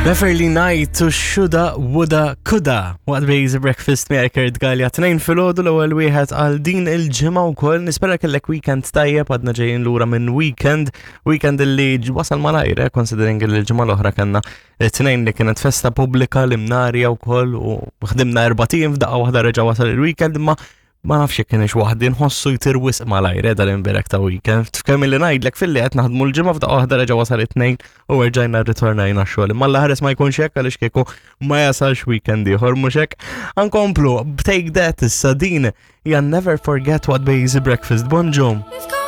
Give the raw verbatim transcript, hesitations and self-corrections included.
Beverly Knight u Shoulda Woulda Coulda. Waqt Bejzi Breakfast miegħek Kurt Gallia, tnejn filgħodu, l-ewwel wieħed għal din il-ġimgħa wkoll. Nispera kellek weekend tajjeb. Għadna ġejjin lura minn weekend, weekend li wasal malajr, eh, considering li l-ġimgħa l-oħra kellna tnejn li kienet festa pubblika l-Imnarja wkoll u ħdimna erbat ijiem, f'daqqa waħda reġa' wasal il-weekend, imma ma nafx jekk kienx waħdi nħossu jtir wisq malajr eh, dal-imberek ta' weekend. F'kemm li ngħidlek filli qed naħdmu l-ġimgħa, f'daqqa waħda reġa' wasal it-tnejn u rġajna rritornajna xogħol. Imma l-ħares ma jkunx hekk, għaliex kieku ma jasalx weekend ieħor, mhux hekk. Ankomplu, Take That issa, din hija Never Forget waqt Bejzi Breakfast. Bonġu. We've got